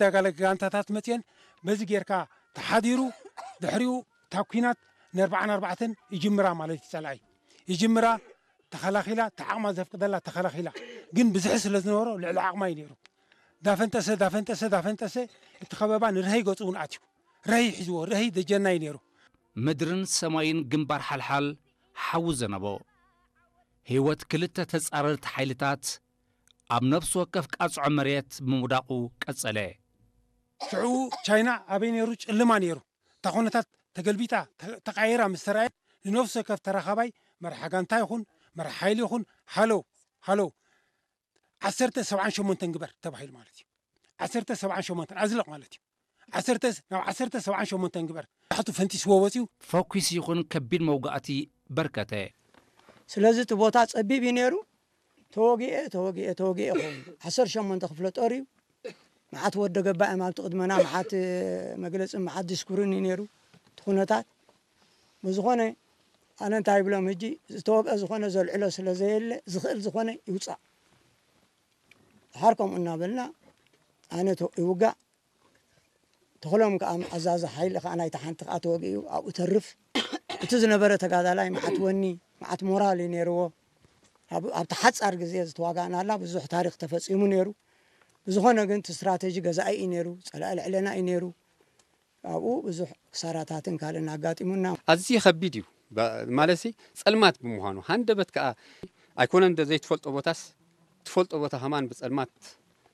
ተጋለ ጋንታታት መፅየን በዚ ጌርካ ተሓዲሩ ድሕሪኡ እታ ኲናት ንኣርባዓን ኣርባዕተን ይጅምራ ማለት እዩ። ፀላኢ ይጅምራ ተኸላኺላ እታ ዓቕማ ዘፍቅደላ ተኸላኺላ፣ ግን ብዝሒ ስለ ዝነበሮ ልዕሊ ዓቕማ እዩ ነይሩ። ዳፈንጠሰ ዳፈንጠሰ ዳፈንጠሰ እቲ ከበባ ንርሀይ ገፁ እውን ኣትዩ። ረሂ ሒዝዎ፣ ረሂ ደጀና እዩ ነይሩ። ምድርን ሰማይን ግንባር ሓልሓል ሓዊ ዘነበ። ህይወት ክልተ ተጻረርቲ ሓይልታት ኣብ ነፍሲ ወከፍ ቃጽዖ መሬት ብምውዳቑ ቀጸለ። ሽዑ ቻይና ኣበይ ነይሩ? ጭልማ ነይሩ። እታ ኩነታት ተገልቢጣ፣ ተ-፣ ተቓይራ ምስ ተራእየት፣ ንነፍሲ ወከፍ ተራኻባይ መራሒ ጋንታ ይኹን መራሒ ሓይሊ ይኹን፣ ሃሎ፣ ሃሎ፣ ዓሰርተ ሰብዓን ሸሞንተን ግበር ተባሂሉ ማለት እዩ። ዓሰርተ ሰብዓን ሸሞንተን ኣዝልቕ ማለት እዩ። ዓሰርተ ናብ ዓሰርተ ሰብዓን ሸሞንተን ግበር። ታሕቱ ፈንጢስዎ ወፂኡ። ፈኲስ ይኹን ከቢድ መውጋእቲ በርከተ። ስለዚ እቲ ቦታ ጸቢብ እዩ ነይሩ። ተወጊኤ፣ ተወጊኤ፣ ተወጊኤ ይኸውን። ዓሰርተ ሸሞንተ ክፍለ ጦር እዩ። መዓት ወደ ገባእ እዮም ኣብቲ ቅድመና፣ መዓት መግለጽን መዓት ዲስኩርን እዩ ነይሩ እቲ ኩነታት። ብዝኾነ ኣነ እንታይ ይብሎም፣ ሕጂ ዝተወግአ ዝኾነ ዘልዕሎ ስለ ዘየለ፣ ዝኽእል ዝኾነ ይውጻእ። ድሓር ከምኡ እናበልና ኣነ ተ-፣ ይውጋእ። ተኽሎም ከኣ ኣዛዚ ሓይሊ ከኣ ናይቲ ሓንቲ ከኣ ተወጊኡ ኣብኡ ተርፍ። እቲ ዝነበረ ተጋዳላይ መዓት ወኒ፣ መዓት ሞራል እዩ ነይርዎ። ኣብ-፣ ኣብቲ ሓጻር ግዜ ዝተዋጋእናላ ብዙሕ ታሪኽ ተፈጺሙ ነይሩ። ብዝኾነ ግን እቲ ስትራተጂ ገዛኢ እዩ ነይሩ፣ ጸላኢ ልዕለና እዩ ነይሩ። ኣብኡ ብዙሕ ክሳራታትን ካልእን ኣጋጢሙና። ኣዝዩ ከቢድ እዩ። ባ-፣ ማለትሲ ጸልማት ብምዃኑ፣ ሃንደበት ከኣ ኣይኮነን እንደ ዘይትፈልጦ ቦታስ፣ ትፈልጦ ቦታ ከማን ብጸልማት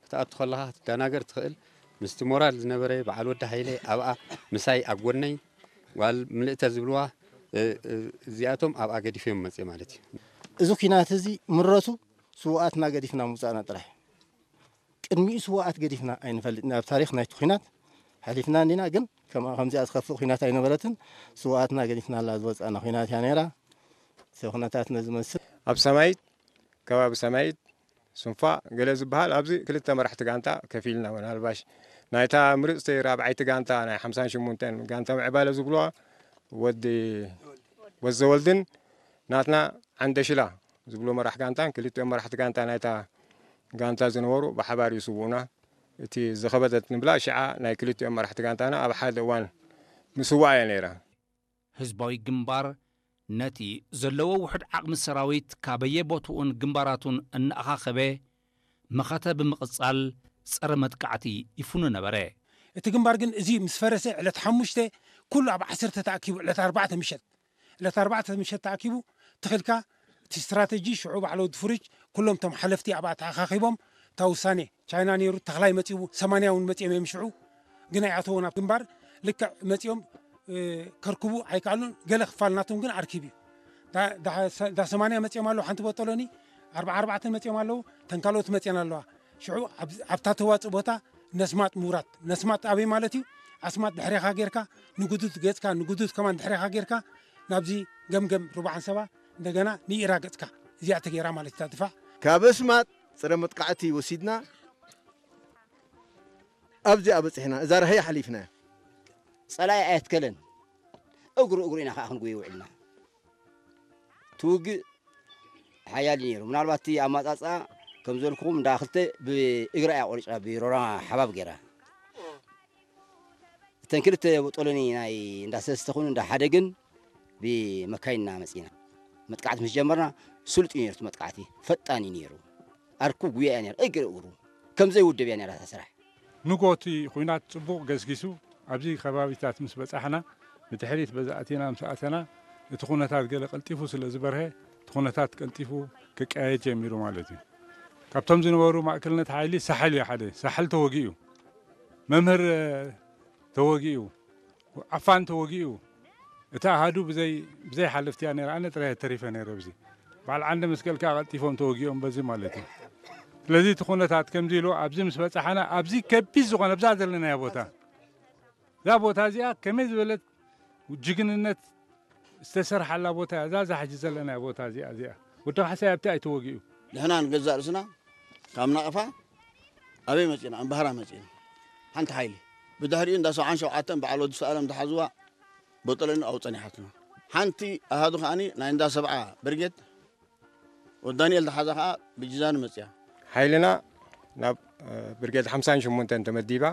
ክትኣቱ ከለኻ ክትደናገር ትኽእል። ምስቲ ሞራል ዝነበረ በዓል ወዲ ሃይለ ኣብኣ ምሳይ ኣብ ጎነይ፣ ጓል ምልእተ ዝብልዋ፣ እ፣ እ፣ እዚኣቶም ኣብኣ ገዲፎም መጽእ ማለት እዩ። እዚ ኲናት እዚ ምረቱ ስውኣትና ገዲፍና ምውጻእና ጥራሕ። ቅድሚኡ ስውኣት ገዲፍና ኣይንፈልጥን። ኣብ ታሪኽ ናይቲ ኲናት ሓሊፍና እንዲና፣ ግን ከምኣ ከምዚኣ ዝኸፍእ ኲናት ኣይነበረትን። ስውኣትና ገዲፍናላ ዝወጻእና ኲናት እያ ነይራ። እቲ ኩነታት ነዚ መስል። ኣብ ሰማይት፣ ከባቢ ሰማይት፣ ሱንፋ፣ ገለ ዝበሃል ኣብዚ ክልተ መራሕቲ ጋንታ ከፊልና፣ ምናልባሽ ናይታ ምርጽቲ ራብዓይቲ ጋንታ ናይ ሓምሳን ሸሞንተን ጋንታ ምዕባለ ዝብልዋ ወዲ ወዘወልድን ናትና ዓንደሽላ ዝብሎ መራሕ ጋንታን ክልቲኦም መራሕቲ ጋንታ ናይታ ጋንታ ዝነበሩ ብሓባር ይስውኡና። እቲ ዝኸበደት ንብላ ሽዓ ናይ ክልቲኦም መራሕቲ ጋንታና ኣብ ሓደ እዋን ምስዋእ እያ ነይራ። ህዝባዊ ግንባር ነቲ ዘለዎ ውሑድ ዓቕሚ ሰራዊት ካበየ ቦትኡን ግንባራቱን እናኣኻኸበ መኸተ ብምቕጻል ጸረ መጥቃዕቲ ይፍኑ ነበረ። እቲ ግንባር ግን እዚ ምስ ፈረሰ ዕለት ሓሙሽተ ኩሉ ኣብ ዓሰርተ ተኣኪቡ፣ ዕለት ኣርባዕተ ምሸት፣ ዕለት ኣርባዕተ ምሸት ተኣኪቡ ትኽልካ እቲ ስትራተጂ ሽዑ ባዕለ ወዲ ፍሩጅ ኩሎም እቶም ሓለፍቲ ኣብኣ ተኣኻኺቦም እታ ውሳኔ ቻይና ነይሩ ተኽላይ መጺኡ ሰማንያ እውን መጺኦም እዮም ሽዑ ግን ኣይኣተዎ ናብ ግንባር ልክዕ መጺኦም እ፣ ከርክቡ ኣይከኣሉን። ገለ ክፋል ናቶም ግን ኣርኪብ እዩ። ዳ-፣ ዳ-፣ ዳ ሰማንያ መጺኦም ኣለዉ፣ ሓንቲ ቦጦሎኒ፣ ኣርብዓ ኣርባዕተ መጺኦም ኣለዉ፣ ተን ካልኦት መጺአን ኣለዋ። ሽዑ ኣብ-፣ ኣብታ ተዋጽእ ቦታ ነስማጥ ምውራድ። ነስማጥ ኣበይ ማለት እዩ? ኣስማጥ ድሕሬኻ ጌርካ፣ ንጉዱት ገጽካ፣ ንጉዱት ከማን ድሕሬኻ ጌርካ፣ ናብዚ ገምገም ሩባ ዓንሰባ፣ እንደገና ንኢራ ገጽካ። እዚኣ ተጌራ ማለት እታ ድፋዕ። ካብ ኣስማጥ ጽረ መጥቃዕቲ ወሲድና፣ ኣብዚኣ በጺሕና። እዛ ራህያ ሓሊፍና። ጸላኢ ኣየትከለን። እግሩ እግሩ ኢና ከኣ ክንጉየ ውዒልና። እቲ ውግእ ሓያል እዩ ነይሩ። ምናልባት እቲ ኣማጻጽኣ ከም ዘልኩኹም እንዳ ክልተ ብእግራ እያ ቆሪጻ፣ ብሮራ ሓባብ ገይራ። እተን ክልተ ቦጦሎኒ ናይ እንዳ ሰለስተ ኹን እንዳ ሓደ ግን ብመካይንና መጺና። መጥቃዕቲ ምስ ጀመርና ስሉጥ እዩ ነይሩ እቲ መጥቃዕቲ። ፈጣን እዩ ነይሩ። ኣርኩብ ጉያ እያ ነይራ። እግሪ እግሩ። ከም ዘይውደብ እያ ነይራ እታ ስራሕ። ንግሆ እቲ ኹናት ጽቡቕ ገስጊሱ፣ ኣብዚ ከባቢታት ምስ በጻሕና፣ ብድሕሪት በዚ ኣቲና ምስ ኣተና፣ እቲ ኩነታት ገለ ቀልጢፉ ስለ ዝበርሀ፣ እቲ ኩነታት ቀልጢፉ ክቀያየድ ጀሚሩ ማለት እዩ። ካብቶም ዝነበሩ ማእከልነት ሓይሊ ሳሕል እዩ ሓደ። ሳሕል ተወጊኡ። መምህር፣ እ፣ ተወጊኡ። ዓፋን ተወጊኡ። እቲ ኣሃዱ ብዘይ፣ ብዘይ ሓለፍቲ እያ ነይራ። ኣነ ጥራይ ተሪፈ ነይረ ኣብዚ። በዓል ዓንደ መስቀል ከኣ ቀልጢፎም ተወጊኦም በዚ ማለት እዩ። ስለዚ እቲ ኩነታት ከምዚ ኢሉ ኣብዚ ምስ በጻሕና፣ ኣብዚ ከቢድ ዝኾነ፣ ኣብዛ ዘለናያ ቦታ፣ እዛ ቦታ እዚኣ ከመይ ዝበለት ጅግንነት ዝተሰርሓላ ቦታ እያ። እዛ፣ እዛ ሕጂ ዘለናያ ቦታ እዚኣ፣ እዚኣ። ወዲ ካሕሳይ ኣብቲ ኣይተወጊኡ። ንሕና ንገዛእ ርእስና ካብ ናቕፋ ኣበይ መጺና? እምበሃራ መጺና። ሓንቲ ሓይሊ። ብድሕሪኡ እንዳ ሰብዓን ሸውዓተን በዓል ወዲ ሰኣለም ዝሓዝዋ ቦጠለኒ ኣብኡ ጸኒሓትና። ሓንቲ ኣሃዱ ከኣኒ ናይ እንዳ ሰብዓ ብርጌድ ወዲ ዳንኤል ዝሓዛ ከኣ ብጅዛኑ መጺኣ። ሓይልና ናብ፣ እ፣ ብርጌድ ሓምሳን ሸሞንተን ተመዲባ።